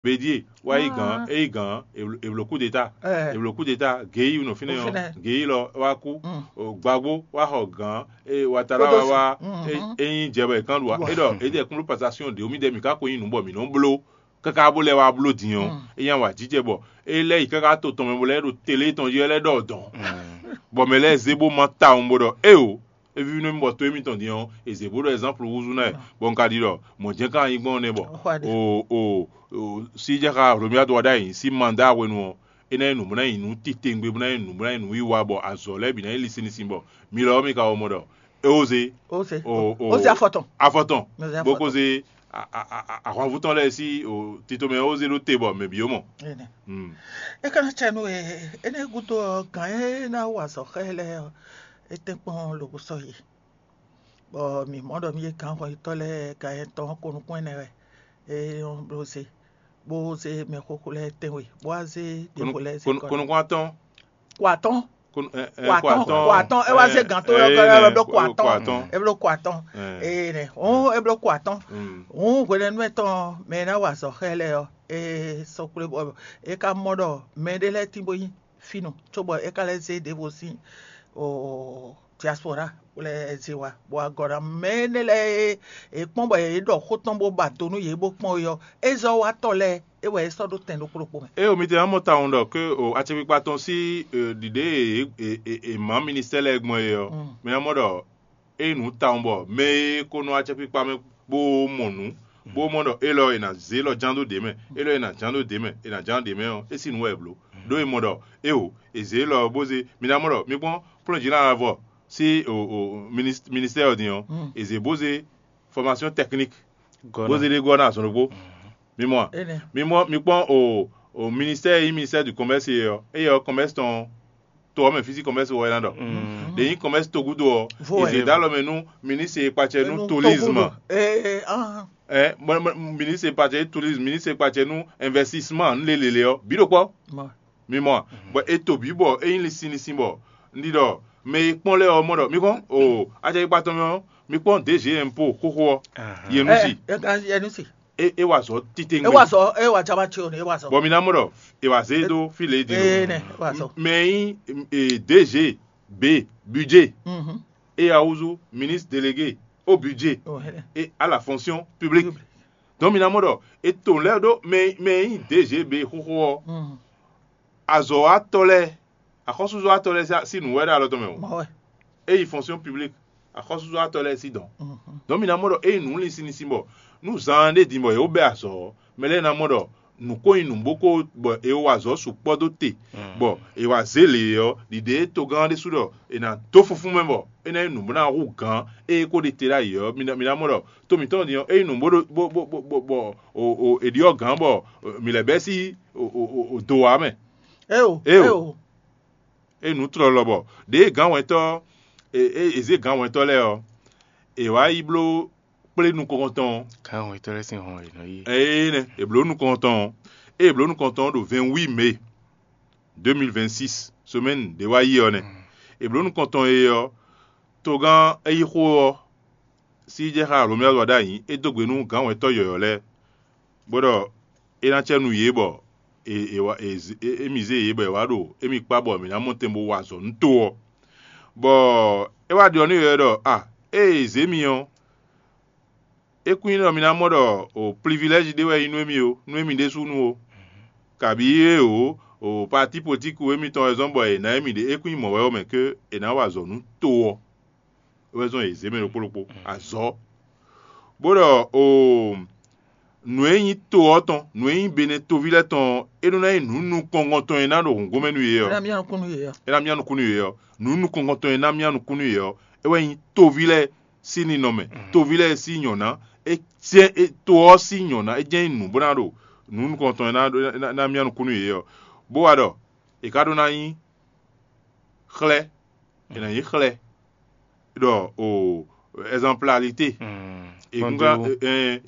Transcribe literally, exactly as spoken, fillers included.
Bédié wá yí gǎn, é yí gǎn, è blǒ kúdeta, è blǒ kúdeta, Géyi nɔ fínɛ́ ɔ́, Géyi lɔ wá kú, Gbagbo wá xɔ gǎn, Watara wá wá, é nyí jɛ bɔ è kán ɖu ǎ. É ɖɔ é ɖɛ kún ɖó pasasíɔn ɖě, mì ɖɛ mǐ ka ko nyí nǔ bɔ mǐ nɔ bló káká bó lɛ́ wá bló din ɔ́, é nyí awǎjijɛ bɔ é lɛ́ yi káká to tɔn mɛ bó lɛ́ ɖo tele tɔn jí wɛ lɛ́ ɖɔ dɔn, bɔ mɛ lɛ́ɛ zé bó má tawun bó ɖɔ éeǒ, é víví nú mì bɔ to émítɔn din ɔ́, è zě bó ɖɔ ɛzánplu húzú ná ɛ, bɔ un ka ɖi ɖɔ mɔ̌ jɛ́n ka nyí gbɔn nɛ́ bɔ o o o sí jɛ xá Hlomyadu wá ɖ'ayǐ sín mandá hwenu ɔ́, é ná nyí nǔ bó ná nyí nǔ titewungbe bó ná nyí nǔ bó ná nyí nǔwiwa bɔ azɔ̌ lɛ́ɛ bǐ ná nyí lisinlisin bɔ mi lɔ ɔ́ mi ka wɔ mɔ ɖɔ é ó zé. Ó se ó se afɔ tɔn. Afɔ tɔn. Bó kó zé ahwanvú tɔn lɛ́ɛ sí tito mɛ ó zé ɖó te bɔ mɛ bǐ ó mɔ. É ka ná cɛ nú e énɛ́ gúdo ɔ́, gǎn e ná wa azɔ̌ xá ɛ lɛ́ɛ ɔ́, é tɛ́nkpɔ́n lobo sɔ́ yi, bɔ mǐ mɔ ɖɔ mì e gǎn hɔnyitɔ́ lɛ́ɛ gǎn nyɛtɔn ɔ́ ko nukún ɛnɛ wɛ é nɔ bló zé, bó zé mɛxóxó lɛ́ɛ tɛ́nwe, bó wá zé ɖěvo lɛ́ɛ zé kɔ. Ko nukún atɔ́n. Ko atɔ́n. Ko atɔ́n, ko atɔ́n, é wá zé gǎn tó ɔ́, é bló ko atɔ́n. É bló ko atɔ́n. Ee nɛ, hǔn é bló ko atɔ́n. Hǔn hwenɛ́nu ɛtɔn mɛ e ná wa azɔ̌ xá ɛ lɛ́ɛ ɔ́, é sɔ́ kplé bɔ é ka mɔ ɖɔ mɛ ɖé lɛ́ɛ tín bó nyí fínú, cóbɔ é ka lɛ́ zé ɖěvo sín diaspora bó lɛ́ zé wá, bɔ agɔ̌ ná mɛ énɛ́ lɛ́ɛ e è kpɔ́n bɔ yě ɖɔ xó tɔn bó ba do nú yě bó kpɔ́n é ɔ́, é zɔ́ wá tɔ lɛ́ɛ é wɛ é sɔ́ ɖó tɛn ɖokpó ɖokpó mɛ. Ée mi te ná mɔ tawun ɖɔ ké o acɛkpikpa tɔn sín ɖiɖe e è mǎ ministɛ́ lɛ́ɛ gbɔn é ɔ́, mi ná mɔ ɖɔ é nyí nǔ tawun bɔ mɛ e ko nɔ acɛkpikpa mɛ bó mɔ nǔ, bó mɔ ɖɔ élɔ́ è nǎ zé élɔ́ ján dó ɖě mɛ, élɔ́ è nǎ ján dó ɖě mɛ, è nǎ ján ɖě mɛ ɔ́, é sín nǔ wɛ è blǒ. Ɖó è mɔ ɖɔ éeǒ, è zě élɔ́ ɔ́ bó zé, mi ná mɔ ɖɔ mi kpɔ́n plɔ́njǐ ná avɔ sín ministɛ́ɛ ɔ́ din ɔ́, è zě bó zé fɔmasiyɔn tɛkník bó zé ɖé gɔ́ ná azɔn ɖokpó. Mi mɔ a? Mi mɔ mi kpɔ́n o o ministɛ́ɛ e nyí ministɛ́ɛ du kɔmɛ́si é ɔ́, éyɛ́ ɔ́ kɔmɛ́si tɔn to ɔ́ mɛ fí sín kɔmɛ́si wɔ é ná ɖɔ. Ɖě nyí kɔmɛ́si togúdo ɔ́, è zě dó alɔ mɛ nú ministre e kpacɛ nú tourisme. Ministre e kpacɛ nú tourisme, ministre e kpacɛ nú investissement nú lélele ɔ́, bǐ ɖo kpɔ́. Mi mɔ a? Bɔ è to bǐ bɔ é nyí linsin linsin bɔ un ɖi ɖɔ mɛ e kpɔ́n lɛ́ɛ ɔ́ mɔ ɖɔ mi kpɔ́n o acɛkpikpa tɔn mɛ ɔ́, mi kpɔ́n D G impôt xóxó ɔ́, Yenusi. É wa azɔ̌ titewungbe. É wa azɔ̌, é wa jama ce o, é wa azɔ̌. Bɔ mi ná mɔ ɖɔ è wa zé dó fí lě din. Ee nɛ, é wa azɔ̌. Mɛ e nyí D G B budget, é ya húzú ministre délégué au budget et à la fonction publique. Donc mi ná mɔ ɖɔ è to lɛ́ ɖó mɛ e nyí D G B xóxó ɔ́, azɔ̌watɔ́ lɛ́ɛ, axɔ́súzɔ́watɔ́ lɛ́ɛ sín nǔ wɛ ɖo alɔ tɔn mɛ o. É yi fonction publique, axɔ́súzɔ́watɔ́ lɛ́ɛ sín dɔ̌n. Donc mi ná mɔ ɖɔ é nyí nǔ linsin linsin bɔ nú zaan ɖé din bɔ yě ko bɛ́ azɔ̌ ɔ́, mɛ lɛ́ɛ ná mɔ ɖɔ nǔ ko nyí nǔ bó ko bɔ è wa azɔ̌ sukpɔ́ dó te, bɔ è wa zě lě ɔ́, ɖiɖe e togán ɔ́ ɖésú ɖɔ è nǎ dó fúnfún mɛ bɔ é ná nyí nǔ bó ná hú gǎn e é ko ɖe te ɖ'ayǐ ɔ́, mi ná mɔ ɖɔ to mǐtɔn din ɔ́, é nyí nǔ bó ɖo bó bó bó bɔ è ɖyɔ́ gǎn bɔ mǐ lɛ́ bɛ́ sí do ǎ mɛ. Éeǒ, éeǒ. É nǔ tlɔlɔ bɔ ɖěe gǎnhwɛntɔ́ e zé gǎnhwɛntɔ́ lɛ́ɛ ɔ́, è wǎ yi bló kplé nukɔntɔn ɔ́. Gǎnhwɛntɔ́ lɛ́ɛ sín hɔn è nɔ yí. Ée nɛ́ è blǒ nukɔntɔn ɔ́, ée è blǒ nukɔntɔn ɔ́ ɖo vingt-huit mai deux mille vingt-six, semaine ɖě wá yi ɔ́ nɛ́. È blǒ nukɔntɔn e ɔ́, togán é yí xó ɔ́ sí jɛ xá Hlomyádu wá ɖ'ayǐ, é dó gbe nú gǎnhwɛntɔ́ yɔ̌yɔ́ lɛ́ɛ, bó ɖɔ é ná cɛ nú yě bɔ émí zé yě bɔ è wǎ ɖo émí kpá bɔ mǐ ná mɔ tɛn bó wa azɔ̌ nú to ɔ́. Bɔ é wá ɖiɔ nú yě ɖɔ: A, ée è zě mi ɔ́, é kún nyí ɖɔ mi ná mɔ ɖɔ o plivilɛ́zi ɖé wɛ é nyí nú émí ó, nú émí ɖésúnú ó, kabǐ éeǒ, o patípolitíki émítɔn wɛ zɔ́n bɔ è nǎ émí ɖe, é kún nyí mɔ̌ wɛ ɔ́ mɛ ké è nǎ wa azɔ̌ nú to ɔ́. É wɛ zɔ́n yě zé mɛ ɖokpó ɖokpó azɔ̌, bó ɖɔ o nǔ e nyí to ɔ́ tɔn, nǔ e nyí Benɛ́ toví lɛ́ɛ tɔn ɔ́, é nɔ ná nyí nǔ nukɔngɔn tɔn e ná ɖo hǔngómɛ nú yě ɔ́. É ná myá nukún nú yě ɔ́. É ná myá nukún nú yě ɔ́. Nǔ nukɔngɔn tɔn e ná myá nukún nú yě ɔ́, é wɛ nyí toví lɛ́ɛ sín ninɔmɛ, toví lɛ́ɛ sín nyɔ̌ná. É jɛ́n to ɔ́ sín nyɔ̌ná, é jɛ́n nyí nǔ bó ná ɖo nǔ nukɔngɔn tɔn e ná myá nukún nú yě ɔ́, bó wá ɖɔ è ka ɖó ná nyí xlɛ́, è nǎ nyí xlɛ́ ɖɔ o ɛzanplalité. È kún ká è